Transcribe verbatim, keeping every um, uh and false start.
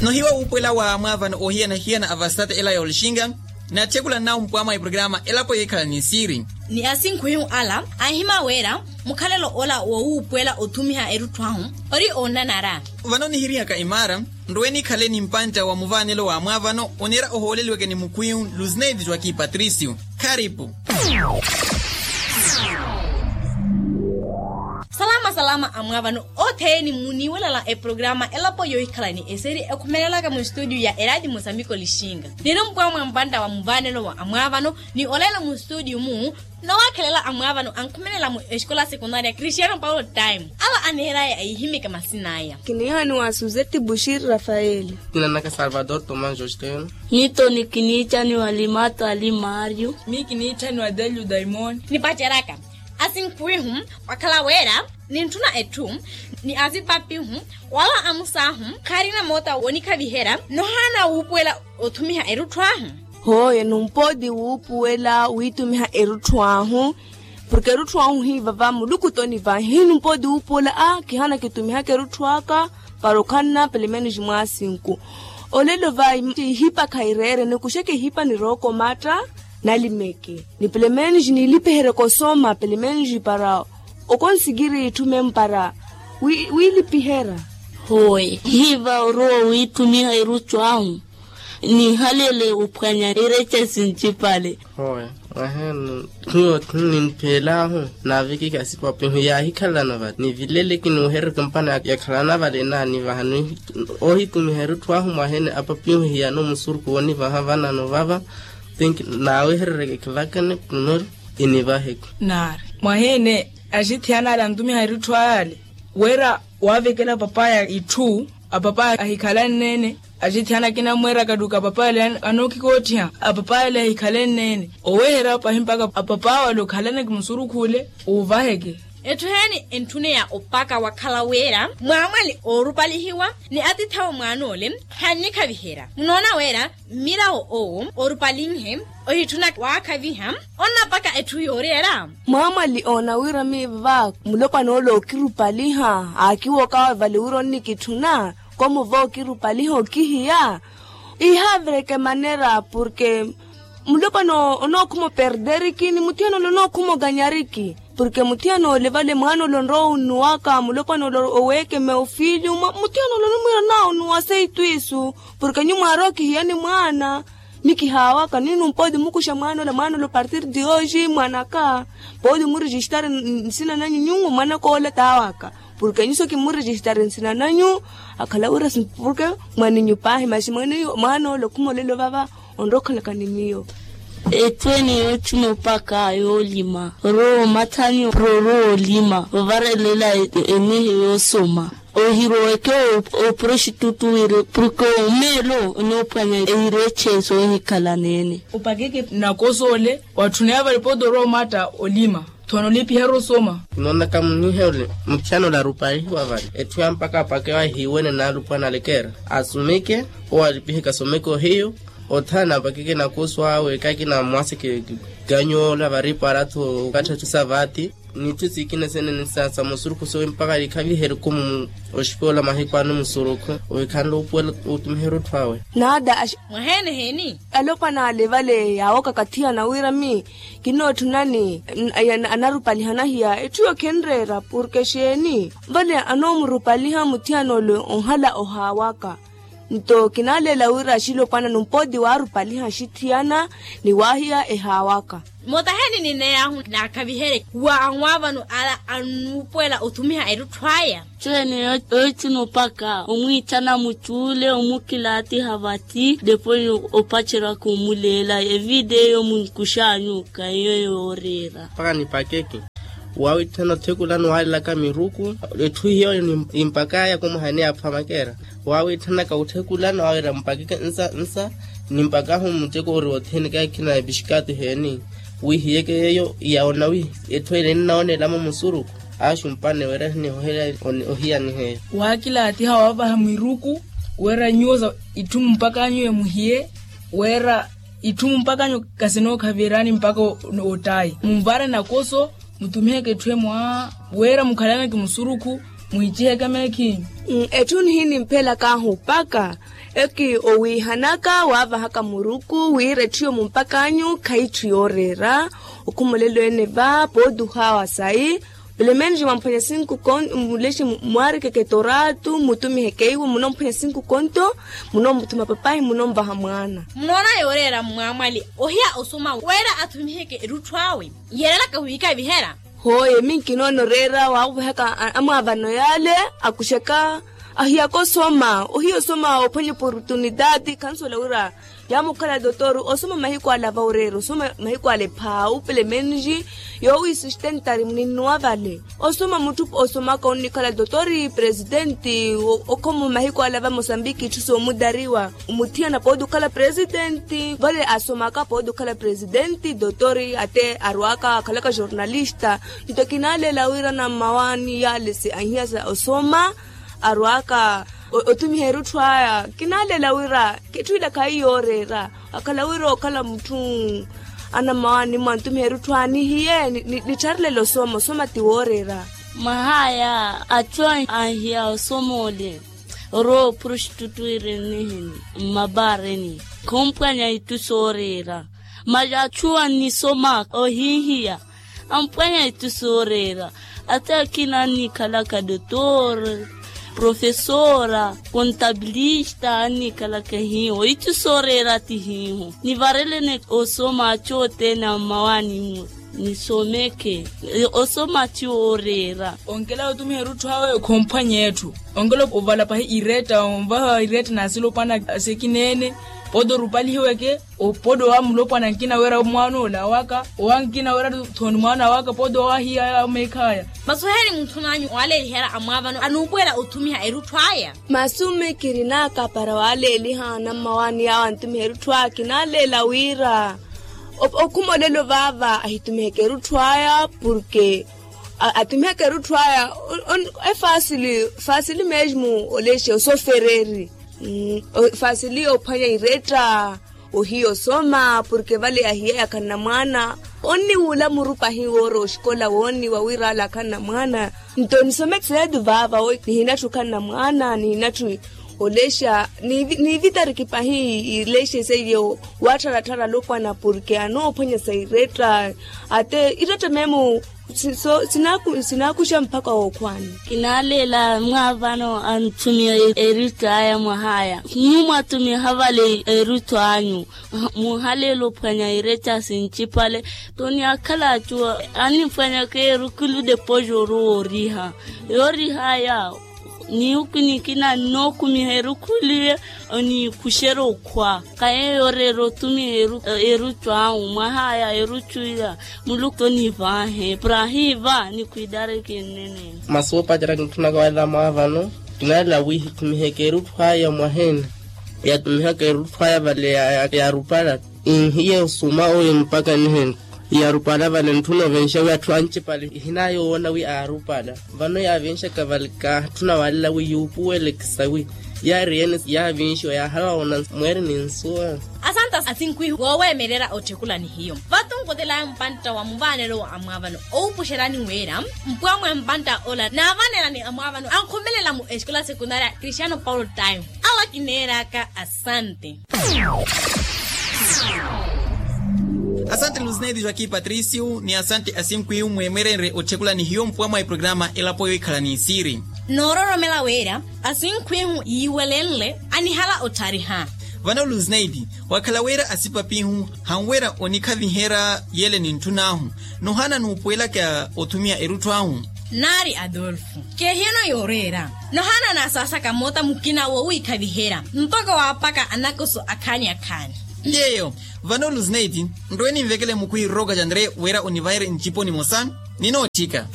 Nohiwa wuupuwela wa mwaavano oohiyana-hiyana a vasate ela ya olixinga. Naatthekula nnawu mpwamwa eprograma elapo yohikhala ni siiri. Ni asinkhuwihu ala anhima wira mukhalelo ola wowuupuwela othumiha erutthu ahu ori oonnanara. Vano nihirihaka imaara nrowe nikhale ni mpantta wa muvaanelo wa mwaavano oneera ohooleliweke ni mukhwihu luzineti joaki patricio. Kharipu. Salama salama amwaavano othene muniiwelala eprograma elapo yohikhala ni eseri ekhumelelaka mu estudio ya eradio mosambiko lixinga. Niri mpwamwa mpantta wa muvaanelo wa amwaavano ni olelo mu estudio mu nowakhelela amwaavano ankhumelela mu exikola sekundaria cristiano paulo time. Ala aneeraya aihimika masinaya. Kinihaniwa suzeti bushiri rafaeli. Kinanaka salvador tomas josteno. Nito ni kinichaniwa limato ali mario. Mi kinichaniwa delio daimoni. Nipaceraka asinkhuwihu wakhala wira nintthuna etthu ni asipapihu wala amusaahu khaarina moota wonikhaviherya nohaana wuupuwela othumiha erutthu ahu. Hooye numpooti wuupuwela wiitumiha erutthu ahu. Porke erutthu ahu hiivava muluku toni vahi numpooti wuupuwela a kihaana kitumihaka erutthu aka para okhanna pelo menos mwaasinku. Olelo va ihipa khaireere nikuxeke ihipa nirookomatta nalimeke ni pelo menos nilipihereke osoma pelo menos para okonsikiri itthu mempara wiilipiherya. Hooye hiiva orowa owiittumiha erutthu ahu. Nihalele ophwanya erecha sincipale. Hooye mwaheene hiyo ninttheel'ahu naavikike asipapihu yaahikhalelana vale nivileleke niweherereke mpano yakhalana vale naanivaha. Oohitumiha erutthu ahu mwaheene apapihu hiyano musuruku woonivaha vanano vava. Think naaweherereke khivakene primero inivaheke. Naari mwaheene axithiyana ale antumiha erutthu ale wira waavekela papaya itthu apapaya ahikhalanneene. Axithiyana akina amweeraka ttuka apapaya ale anookikoottiha apapaya ale ahikhalanneene oweherya pahi mpaka apapaya ale okhalaneke musurukhule. Uuvaheke etthu heeni entthuneya opaka wakhala wira mwaamwali oorupalihiwa ni atithawe mwaan'ole. Khannikhaviherya munoona wira mmirawo owo oorupalihe ohitthuna waakhaviha onnapaka etthu yooriyela. Mwaamwali oona wira miiva mulopwan'ole ookirupaliha aakiwookawe vale wira onnikitthuna komuva ookirupaliha okihiya. Ihaavireke manera porke mulopwana onookhuma operderiki ni muthiyan'ole onookhuma oganyariki. Porke muthiyan'ole vale mwaan'ole onrowa onnuwaka mulopwan'ole oweekeme ofiilyu muthiyan'ole onimwiira naawo onnuwa seitu isu. Porke nyu mwaari okihiyani mwaana mikihaawaka nini numpooti mukuxa mwaan'ole mwaan'ole opartir de hoje mwaan'aka. Pooti murijistari nsina nanyu nyuwo mwaan'aka ole taawaka. Porke nyu so kimurijistari nsina nanyu akhala wira porke mwaninyu paahi maxi mwaninyu mwaan'ole okhuma olelo vava. Onrowa okhalaka ni miyo. Etthu ene yootthuna opaka yoolima orowa omathani orowa olima ovarelela enehe yoosoma. Ohiroweke oprostitutu wira porke omeelo onoophwanya ehireche soohikhala neene. Opakeke nakoso ole watthuneya vale pooti orowa omatta olima. Thono lipiherya osoma. Kinoonaka munihe ole muthiyan'ole arupalihiwa vale etthu ya mpaka apakewa ahiiwene naalupwana alekeera asomeke owo alipiheke asomeke ohiyu. Otthana apakeke nakoso awe kaakina mwaaseke ganyu ola vari para-tho okattha etthu sa vaati n'itthu sikina senene sa musurukhu sowe mpaka likhaviherye khumu oxikola mahiku ano musurukhu owe khanle opuwela otumiherya otthu awe. Naada mwaheene heeni. Alopwana ale vale yaawaka kathiyana wira mi kinootthunani anarupalihana hiya etthu yo khinreera porke xeeni vale anoomurupaliha muthiyan'ole onhala ohaawaka. Nto kinaaleela wira axilopwana numpooti waarupaliha axithiyana ni waahiya ehaawaka. Motaheeni nineey'ahu naakhaviherye wa anwaavano ala annuupuwela othumiha erutthu aya. Tthweene yoottuna opaka omwiithana mucuule omukilaatiha vathi depois opacerya khumuleela evideo munkux'anyu kaiyo yooreera. Mpaka nipakeke waawiithana othekulano waalelaka miruku. Etthu hiyo nimpak'aya kumuhaneya aphwa makeera waawiithanaka othekulano waawiira mpakeke nsa nsa. Nimpakahu muteko ori othene kaakina epixikaati heeni wihiyeke yeeyo yawoona wi etthu ene ennawoona elamo musuruku. Axumpane wira hinihohela ohiyaniheya. Waakilaatiha waavaha miruku wira nyuwo sa itthu mumpaka anyu emuhiye wira itthu mumpaka anyu kasinookhavirani mpaka ottaayi munvare nakoso mutumiheke etthu emwa wira mukhalaneke musurukhu muhichiheke meekhinyu. Etthu nihinimphelakanhu mpaka Eki owiihanaka waavahaka muruku wira etthu yomumpak'anyu khayi etthu yooreera. Okhumolelo ene va pooti ohaawa sayi. Pelemenji mwamphwanya sinku konto mulexe mwaarikeke toratu mutumiheke iwo munomphwanya sinku konto. Munomuthuma papahi munomvaha mwaana. Munoona yooreera mmwaamwali ohiya osoma wira athumiheke erutthu awe. Yeerelaka wiikavihela. Hooye minkinoona oreera waavahaka amwaavano yaale. Akuxaka ahiyaka osoma ohiya osoma ophwanya oportunitaati khansuwela wira yaamukhala dotor. Osoma mahiku ale ava oreera osoma mahiku ale phaau pelemenji yoowiisustentari muninnuwa vale. Osoma mutthu osomaka onnikhala dotor presitenti. Okhomo mahiku ale ava mosambiki itthu soomutariwa. Mutthiyana pooti okhala presitenti vale asomaka pooti okhala presitenti dotor ate arwaka akhalaka jornalista. Nto kinaaleela wira nammawaani yaale se ahiya sa osoma arwaka othumiha erutthu aya. Kinaaleela wira kitthu ila khayi yooreera akhala wira okhala mutthu anammawaani mwa nthumiha erutthu aya nihiye nittharelele osoma osoma ti wooreera. Mwahaya atthu ahiya osoma ole orowa oprostitutwire nnihini mmabaareni. Khoompwanya itthu sooreera mali atthu annisoma ohihiya ampwanya itthu sooreera. Ata akina annikhalaka dotor profesora kontabilista annikhalaka hiiho itthu sooreera ti hiiho. Nivarelene osoma atthu othene ammawaani-mu nisomeke osoma ti wooreera. Onkela otumiha erutthu awe khomphwanya etthu onkela ovala pahi iretta onvaha iretta nasilopwana asekineene. Pooti orupalihiweke opooti owa mulopwana nkina wira mwaana ola awaka owa nkina wira thoni mwaana awaka pooti owa ahiya ameekhaya. Masuheli muntthun'anyu oaleelihela amwaavano anuupuwela othumiha erutthu aya. Masume kirinaka para waaleeliha anammawaani yaawo anthumiha erutthu aya kinaaleela wira okhumolelo vaava ahitumiheke erutthu aya porke atumiheke erutthu aya efasili fasili mesmo olexe osofereri. Fasili ophwanya iretta ohiya osoma porke vale ahiyaya khanna mwaana onniwuula muru pahi woora oxikola woonniwa wira ale akhanna mwaana. Nto nisomeke seetu vaava nihinatthu khanna mwaana nihinatthu olexa niivitariki pahi ilexa seiye. Waattharattharala opwana porke anoophwanyesa iretta ate iretta memo sinaakuxa mpakha wookhwaani. Kinaaleela mwaavano anthumiha eruttu aya mwahaya nyuwo mwathumiha vale eruttu anyu. Muhaleela ophwanya iretta sinchipale toni akhala attu animphwanyaka erukulu depois orowa oriha yooriha aya. Niwuku nikina nnookumiha erukhulu iye oniikhuxerya okhwa khaye yooreera otumiha eruttu awu mwahaya eruttu iya. Muluku tonivaahe prahiva nikhwidareke nnene. Masi woopacerya kintthunaka wala mwaavano kinalela wi hitumiheke eruttu aya mwaheene. Yatumihaka eruttu aya vale yaarupala ihiye osuma oyo mpaka niheni. Yaarupala vale ntthuna ovenxa wi atthu anchipale ihinayowoona wi aarupala. Vano yaavinxaka vale kaatthuna walela wi yuupuwelekisa wi yaari ene yaavinxiwa yaahala wawoona mweeri ni nsuwa. Asanta asinkwihu wooweemelela otthekula ni hiyo. Vatunkutelaya mpantta wa muvaanelo wa amwaavano owupuxerani wira mpwamwe mpantta ola naavanela ni amwaavano ankhumelela mu exikola sekundaria cristiano paulo time. Awo akineeraka asante. Asante lusineidi joaquim patricio ni asante asinkwihu mweemerenre otthekula ni hiyo mpuwa mwa eprograma elapo yohikhala ni isiiri. Noororomela wira asinkwihu yiiwelenle anihala otthariha. Vano lusineidi wakhala wira asipapihu hanwira onikhaviherya yele ni ntthun'ahu nohana nuupuwelaka othumiha erutthu ahu. Naari adolfo keehiyano yooreera nohana nasaasaka moota mukina wowiikhaviherya mpakha waapaka anakoso akhaani akhaani. Yeeyo vano lusineidi nrowe ninvekele mukhwihi roka jandre wira onivaherye ncipo nimosa ninootthika.